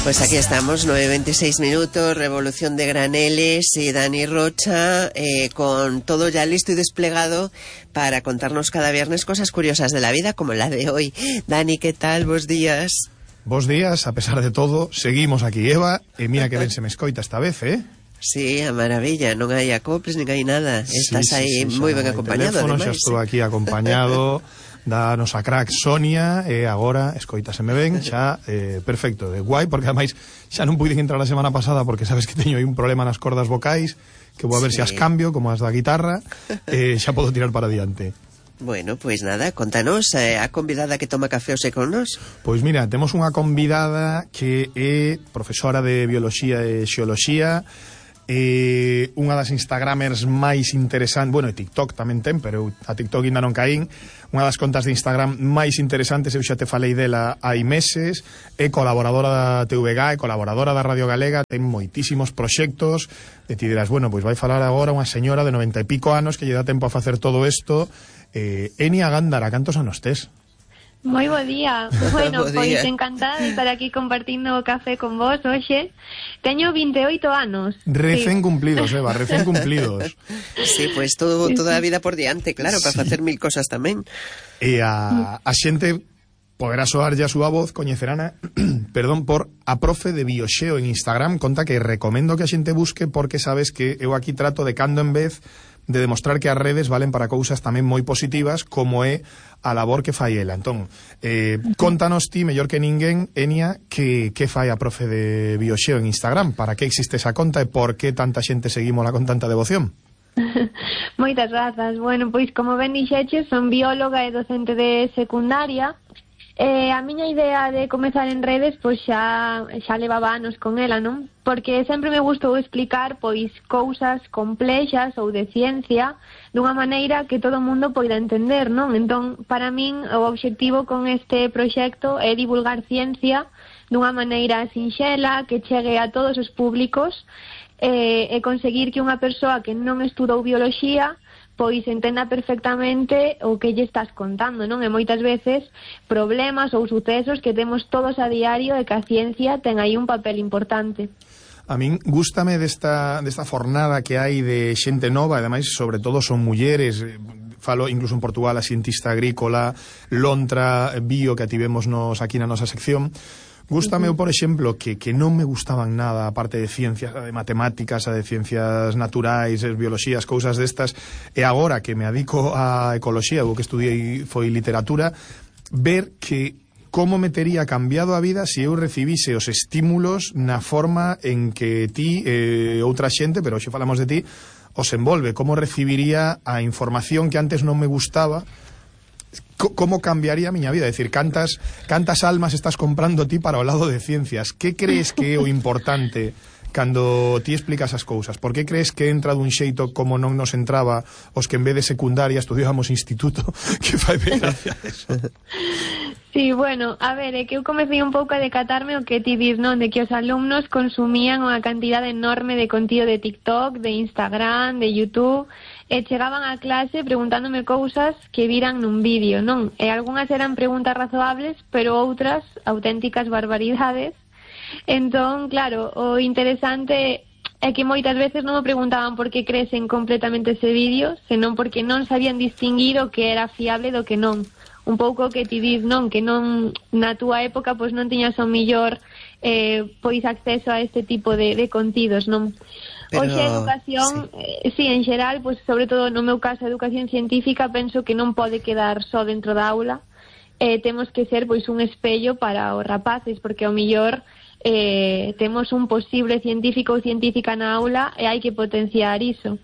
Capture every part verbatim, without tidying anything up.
Pues aquí estamos, nueve veintiséis minutos, Revolución de Graneles y Dani Rocha, eh, con todo ya listo y desplegado para contarnos cada viernes cosas curiosas de la vida, como la de hoy. Dani, ¿qué tal? Bos días. Bos días, a pesar de todo, seguimos aquí, Eva, e mira que ben se me escoita esta vez, eh? Sí, a maravilla, non hai acoples, nin hai nada. Estás sí, sí, aí sí, moi ben no, acompañado, teléfono, ademais. xa estou aquí acompañado da nosa crack Sonia, e agora, escoitaseme ben, xa, eh, perfecto, de guai, porque ademais xa non puiden entrar a semana pasada porque sabes que teño aí un problema nas cordas vocais, que vou a ver sí. se as cambio, como as da guitarra, eh, xa podo tirar para diante. Bueno, pois pues nada, contanos, eh, a convidada que toma café hoxe con nos. Pois mira, temos unha convidada que é profesora de Bioloxía e Xeoloxía, eh, unha das Instagramers máis interesantes, bueno, e TikTok tamén ten, pero a TikTok ainda non caín, unha das contas de Instagram máis interesantes, eu xa te falei dela hai meses, é colaboradora da T V G, é colaboradora da Radio Galega, ten moitísimos proxectos, e ti dirás, bueno, pois vai falar agora unha señora de noventa e pico anos que lle dá tempo a facer todo isto. eh, Enia Gándara, cantos anos tes? Moi bo día. Bueno, pois encantada de estar aquí compartindo o café con vos hoxe. Teño vinte e oito anos. Recén sí. cumplidos, Eva, recén cumplidos. Sí, pois pues todo, toda a vida por diante, claro, para sí. facer mil cosas tamén. E a, a xente poderá soar ya a súa voz, coñecerana, perdón, por a profe de Bioxeo en Instagram, conta que recomendo que a xente busque porque sabes que eu aquí trato de cando en vez de demostrar que as redes valen para cousas tamén moi positivas, como é a labor que fai ela. Entón, eh, contanos ti, mellor que ninguén, Enia, que, que fai a profe de Bioxeo en Instagram, para que existe esa conta e por que tanta xente seguímola con tanta devoción? Moitas grazas. Bueno, pois como ben dixeches, son bióloga e docente de secundaria. Eh, a miña idea de comezar en redes pois xa, xa levaba anos con ela, non? Porque sempre me gustou explicar pois cousas complexas ou de ciencia dunha maneira que todo o mundo poida entender, non? Entón, para min, o obxectivo con este proxecto é divulgar ciencia dunha maneira sinxela, que chegue a todos os públicos, eh, e conseguir que unha persoa que non estudou bioloxía pois entenda perfectamente o que lle estás contando, non? E moitas veces problemas ou sucesos que temos todos a diario e que a ciencia ten aí un papel importante. A min gústame desta, desta fornada que hai de xente nova, e ademais, sobre todo, son mulleres, falo incluso en Portugal a cientista agrícola, Lontra, Bio, que ativemos nos aquí na nosa sección. Gústame, uh-huh. por exemplo, que, que non me gustaban nada a parte de ciencias, de matemáticas, a de ciencias naturais, bioloxías, cousas destas, e agora que me adico a ecoloxía, o que estudiei foi literatura, ver que como me tería cambiado a vida se eu recibise os estímulos na forma en que ti e eh, outra xente, pero hoxe falamos de ti, os envolve, como recibiría a información que antes non me gustaba. Como cambiaría a miña vida? É dicir, cantas, cantas almas estás comprando ti para o lado de ciencias? Que crees que é o importante cando ti explicas as cousas? Por que crees que entra dun xeito como non nos entraba os que en vez de secundaria estudiábamos instituto? Que fai ben gracia eso. Sí, bueno, a ver, é que eu comecei un pouco a decatarme o que ti dis, non? De que os alumnos consumían unha cantidade enorme de contido de TikTok, de Instagram, de YouTube, e chegaban a clase preguntándome cousas que viran nun vídeo, non? E algunhas eran preguntas razoables, pero outras auténticas barbaridades. Entón, claro, o interesante é que moitas veces non me preguntaban por que cresen completamente ese vídeo, senón porque non sabían distinguir o que era fiable do que non. Un pouco que ti dis, non? Que non, na túa época, pois non tiñas o mellor eh, pois acceso a este tipo de, de contidos, non? Pero, hoxe a educación, sí. Eh, sí, en xeral, pois, sobre todo no meu caso, a educación científica, penso que non pode quedar só dentro da aula, eh, temos que ser pois un espello para os rapaces, porque ao mellor eh, temos un posible científico ou científica na aula e hai que potenciar iso.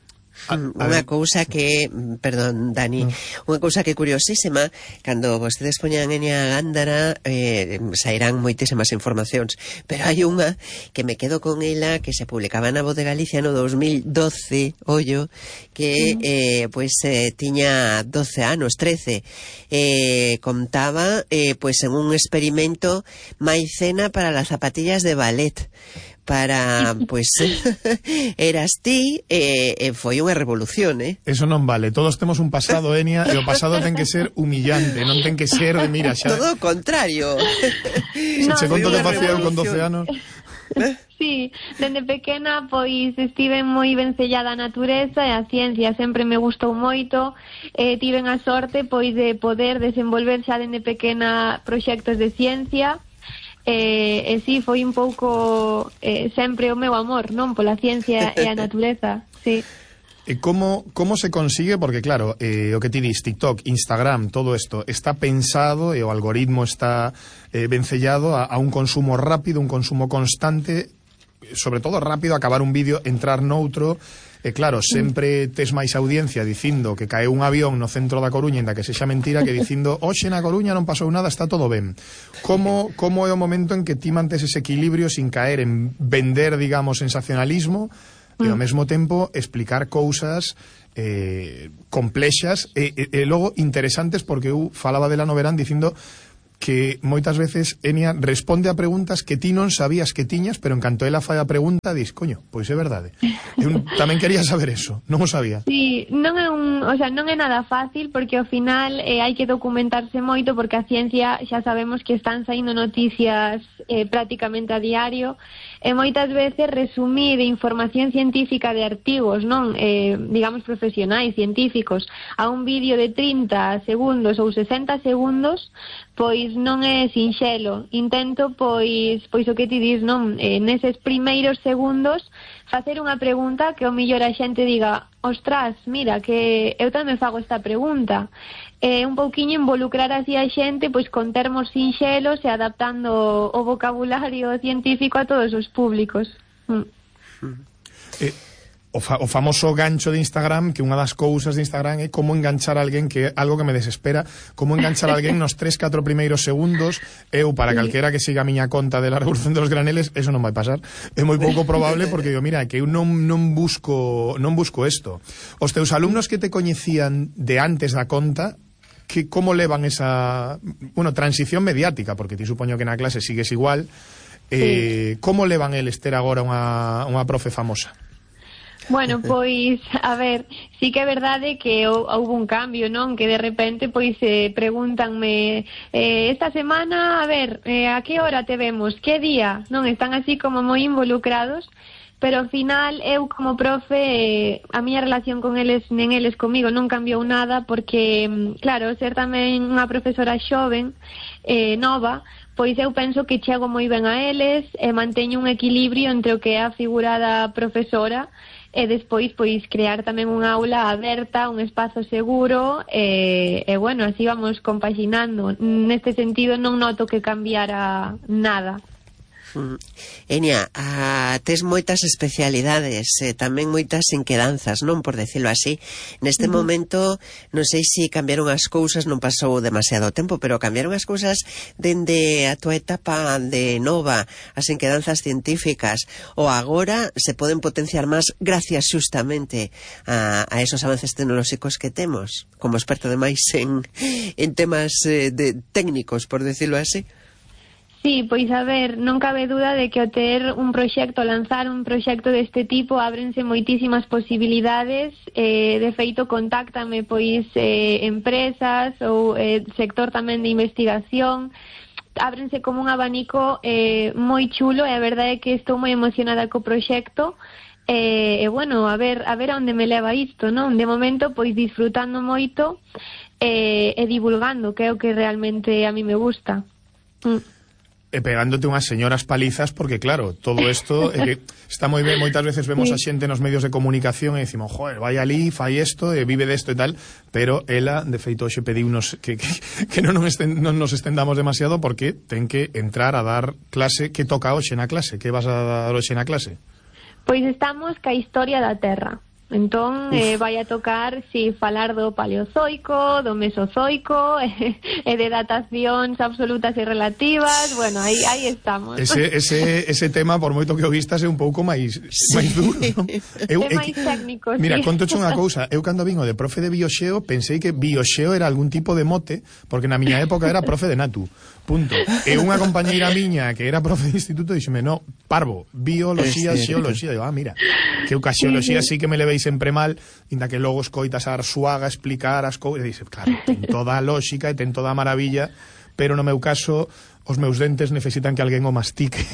Unha cousa que, perdón, Dani, unha cousa que curiosísima, cando vostedes poñan Enia Gándara, eh, sairán moitísimas informacións, pero hai unha que me quedo con ela, que se publicaba na Voz de Galicia no dos mil doce, ollo, que eh, pois eh, tiña doce anos, trece, eh, contaba eh, pois en un experimento maicena para las zapatillas de ballet, para, pois, eras ti, e, e foi unha revolución, eh? Eso non vale, todos temos un pasado, Enia, e o pasado ten que ser humillante, non ten que ser de, mira, xa... Todo o contrario. Se no, che conto que facía eu con doce anos... Sí, dende pequena pois estive moi vencellada á natureza e a ciencia sempre me gustou moito, e tiven a sorte pois de poder desenvolver xa dende pequena proxectos de ciencia. E, e sí, foi un pouco eh, sempre o meu amor, non? Pola ciencia e a natureza, sí. E como, como se consigue? Porque claro, eh, o que ti dis, TikTok, Instagram, todo isto está pensado e o algoritmo está eh, vencellado a, a un consumo rápido, un consumo constante, sobre todo rápido, acabar un vídeo, entrar noutro. E claro, sempre tes máis audiencia dicindo que caeu un avión no centro da Coruña, ainda que sexa mentira, que dicindo hoxe na Coruña non pasou nada, está todo ben. Como, como é o momento en que ti mantes ese equilibrio sin caer en vender, digamos, sensacionalismo e ao mesmo tempo explicar cousas eh, complexas e, e, e logo interesantes, porque eu falaba de la Noverán dicindo que moitas veces Enia responde a preguntas que ti non sabías que tiñas, pero en canto ela fai a pregunta, dis, coño, pois é verdade. Eu tamén quería saber eso, non o sabía. Sí, non é un, o sea, non é nada fácil, porque ao final eh, hai que documentarse moito, porque a ciencia xa sabemos que están saindo noticias eh, prácticamente a diario, e moitas veces resumir información científica de artigos, non, eh, digamos profesionais, científicos, a un vídeo de trinta segundos ou sesenta segundos, pois non é sinxelo. Intento, pois, pois o que ti dis, non, eh, neses primeiros segundos facer unha pregunta que ao millor a xente diga, ostras, mira, que eu tamén fago esta pregunta. Eh, un pouquiño involucrar así a xente, pois con termos sinxelos e adaptando o vocabulario científico a todos os públicos. Mm. Eh, o, fa, o famoso gancho de Instagram, que unha das cousas de Instagram é como enganchar a alguén, que é algo que me desespera, como enganchar a alguén nos tres, catro primeiros segundos. Eu, para calquera que siga a miña conta de la Revolución de los Graneles, eso non vai pasar. É moi pouco probable, porque eu, mira, que eu non, non busco non busco isto. Os teus alumnos que te coñecían de antes da conta, que como levan esa, bueno, transición mediática, porque ti supoño que na clase sigues igual, eh, sí. Como levan eles ter agora unha, unha profe famosa? Bueno, pois, a ver, sí que é verdade que houve un cambio, non? Que de repente, pois, eh, pregúntanme eh, esta semana, a ver, eh, a que hora te vemos? Que día? Non? Están así como moi involucrados, pero ao final eu como profe, eh, a miña relación con eles, nen eles comigo, non cambiou nada, porque, claro, ser tamén unha profesora xoven, eh, nova, pois eu penso que chego moi ben a eles e manteño un equilibrio entre o que é a figura da profesora e despois, pois, crear tamén unha aula aberta, un espazo seguro, e, e bueno, así vamos compaginando. Neste sentido non noto que cambiara nada. Mm. Enia, ah, tes moitas especialidades, eh, tamén moitas inquedanzas, non, por decirlo así. Neste uh -huh. momento, non sei se cambiaron as cousas, non pasou demasiado tempo, pero cambiaron as cousas dende a tua etapa de nova, as inquedanzas científicas, ou agora se poden potenciar máis gracias justamente a, a esos avances tecnolóxicos que temos, como experto demais en, en temas eh, de técnicos, por decirlo así. Sí, pois a ver, non cabe duda de que ao ter un proxecto, lanzar un proxecto deste tipo, ábrense moitísimas posibilidades. Eh, de feito, contáctame pois eh, empresas ou eh, sector tamén de investigación. Ábrense como un abanico eh, moi chulo, e a verdade é que estou moi emocionada co proxecto. E, eh, bueno, a ver, a ver a onde me leva isto, non? De momento, pois disfrutando moito eh, e divulgando, que é o que realmente a mí me gusta. Mm. E pegándote unhas señoras palizas, porque claro, todo isto é que está moi ben, moitas veces vemos a xente nos medios de comunicación e decimos, joder, vai ali, fai isto, e vive desto e tal, pero ela, de feito, xe pediunos que, que, que non, nos esten, non nos estendamos demasiado, porque ten que entrar a dar clase. Que toca hoxe na clase? Que vas a dar hoxe na clase? Pois estamos ca historia da Terra. Entón, eh, vai a tocar, si, falar do Paleozoico, do Mesozoico, e, e de datacións absolutas e relativas. Bueno, aí, aí estamos. Ese, ese, ese tema, por moito que o vistas, é un pouco máis, sí. máis duro, non? Eu, é máis técnico, mira, sí. contoche unha cousa. Eu, cando vin o de profe de bioxeo, pensei que bioxeo era algún tipo de mote, porque na miña época era profe de natu. punto. E unha compañeira miña que era profe de instituto dixeme, no, parvo, bioloxía, xeoloxía. Digo, ah, mira, que eu ca xeoloxía sí que me levei sempre mal, inda que logo escoitas a Arsuaga explicar as cousas, e dixe, claro, ten toda a lógica e ten toda a maravilla, pero no meu caso, os meus dentes necesitan que alguén o mastique.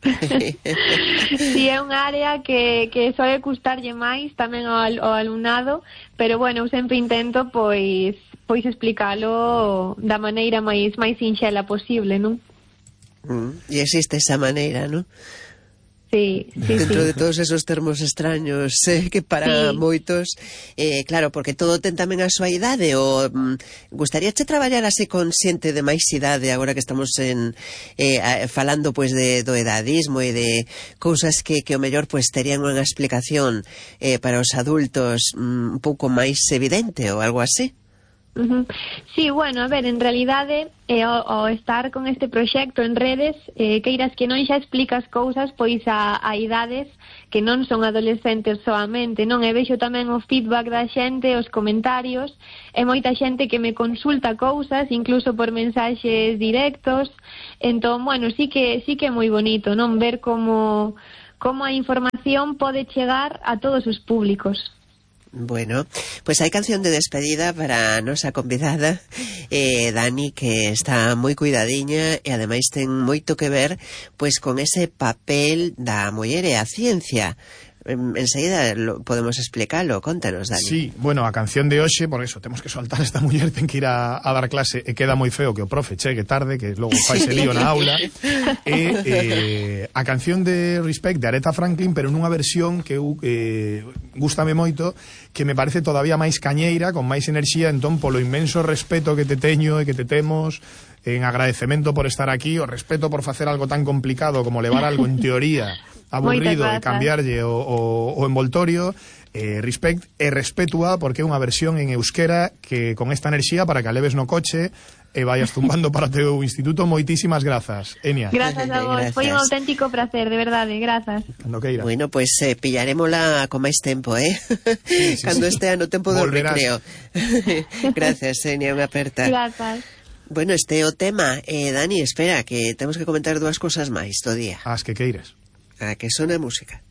Si é unha área que, que soe custarlle máis tamén ao, ao alumnado, pero bueno, eu sempre intento pois pois explicalo da maneira máis máis sinxela posible, non? Mm, e existe esa maneira, non? Sí, sí, dentro sí. de todos esos termos extraños eh, que para sí. moitos eh, claro, porque todo ten tamén a súa idade ou mm, gustaríache traballar así con xente de máis idade agora que estamos en eh, falando pois de, do edadismo e de cousas que, que o mellor pois terían unha explicación eh, para os adultos mm, un pouco máis evidente ou algo así? Uh-huh. Sí, bueno, a ver, en realidade eh, o, o estar con este proxecto en redes eh, queiras que non xa explicas cousas pois a, a idades que non son adolescentes soamente, non? E vexo tamén o feedback da xente, os comentarios, e moita xente que me consulta cousas, incluso por mensaxes directos. Entón, bueno, sí que sí que é moi bonito, non? Ver como como a información pode chegar a todos os públicos. Bueno, pues hai canción de despedida para a nosa convidada eh, Dani, que está moi cuidadiña e ademais ten moito que ver pois con ese papel da muller e a ciencia. Enseguida lo, podemos explicarlo, contanos, Dani. Sí, bueno, a canción de hoxe, por eso, temos que soltar esta muller, ten que ir a, a dar clase, e queda moi feo que o profe chegue tarde, que logo faise lío na aula. E eh, a canción de Respect de Aretha Franklin, pero nunha versión que eu eh, gústame moito, que me parece todavía máis cañeira, con máis enerxía, entón polo inmenso respeto que te teño e que te temos, en agradecemento por estar aquí, o respeto por facer algo tan complicado como levar algo en teoría aburrido e cambiarlle o, o, o envoltorio, eh, respect e respetua, porque é unha versión en euskera que con esta enerxía para que a leves no coche e vayas tumbando para o teu instituto. Moitísimas grazas, Enia. Grazas a vos, foi un auténtico placer, de verdade, grazas. Cando queira. Bueno, pois pues, eh, pillarémola con máis tempo, eh? Sí, sí, cando sí. Estea no tempo do recreo. Gracias, Enia, unha aperta. Grazas. Bueno, este é o tema. Eh, Dani, espera, que temos que comentar dúas cosas máis do día. As que queiras. A que sona a música.